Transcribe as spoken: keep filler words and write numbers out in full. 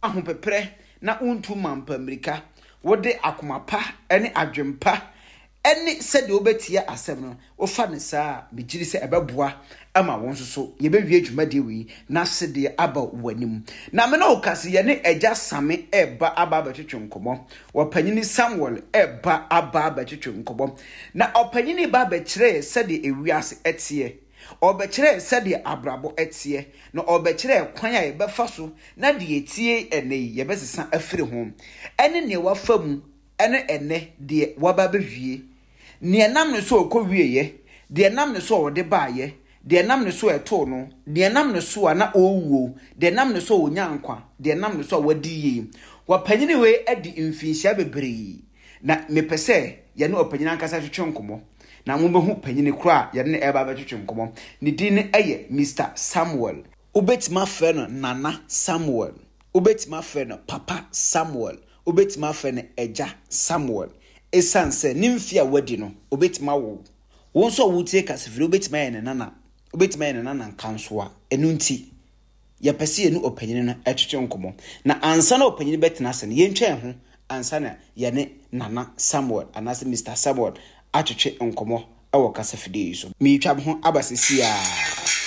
Ahopeprɛ na wontu mampa mmirika. Wode akoma pa ne adwempa ne sɛdeɛ wobɛtie asɛm no, wofa no saa a, megye di sɛ ɛbɛboa ama wo nso so yɛbɛwie dwumadie wei na sedeɛ aba w'anim. Na me ne wo ka se yɛne Agya Same ɛreba aba abɛtwetwe nkɔmmɔ. Ɔpanyini Samuel ɛreba aba abɛtwetwe nkɔmmɔ. Na ɔpanyini ba abɛkyerɛ yɛ sɛdeɛ ewiase ɛteɛ. Ɔrebɛkyerɛ yɛ sɛdeɛ abrabɔ ɛteɛ. Na ɔrebɛkyerɛ yɛ kwan a yɛbɛfa so na deɛ yɛtie ɛnnɛ yi yɛbɛsesa afiri ho. Ɛne deɛ wafa mu ɛne ɛnnɛ deɛ waba abɛwie. Nea ɛnam ne so a ɔkɔwieeɛ, deɛ ɛnam ne so a ɔde baeɛ, deɛ ɛnam ne so a ɛtoo no, deɛ ɛnam ne so a na ɔrewuo, deɛ ɛnam ne so a ɔnya nkwa, deɛ ɛnam ne so a wadi yie. Wɔpanyini wei adi mfinhyia bebree, na mepɛ sɛ yɛne ɔpanyini ankasa twetwe nkɔmmɔ. Na mobɛhu panyini koro a yɛne no ɛreba abɛtwetwe nkɔmmɔ. Ne din no yɛ Mister Samuel. Wobɛtumi afrɛ no Nana Samuel. Wobɛtumi afrɛ no Papa Samuel. Wobɛtumi afrɛ no Agya Samuel. Ɛsiane sɛ ne mfe a wadi no, obɛtumi awo. Wo nso a wotie kasafiri, wobɛtumi ayɛ ne nana. Wobɛtumi ayɛ ne nana nkansoa. Ɛno nti, yɛpɛ sɛ yɛne ɔpanyini no twetwe nkɔmmɔ. Na ansa na ɔpanyini bɛtena ase no, yɛntwɛn ho ansa na yɛne Nana Samuel anaasɛ Mister Samuel atwetwe nkɔmmɔ wɔ kasafidie yi so. Meretwa me ho aba seesei ara.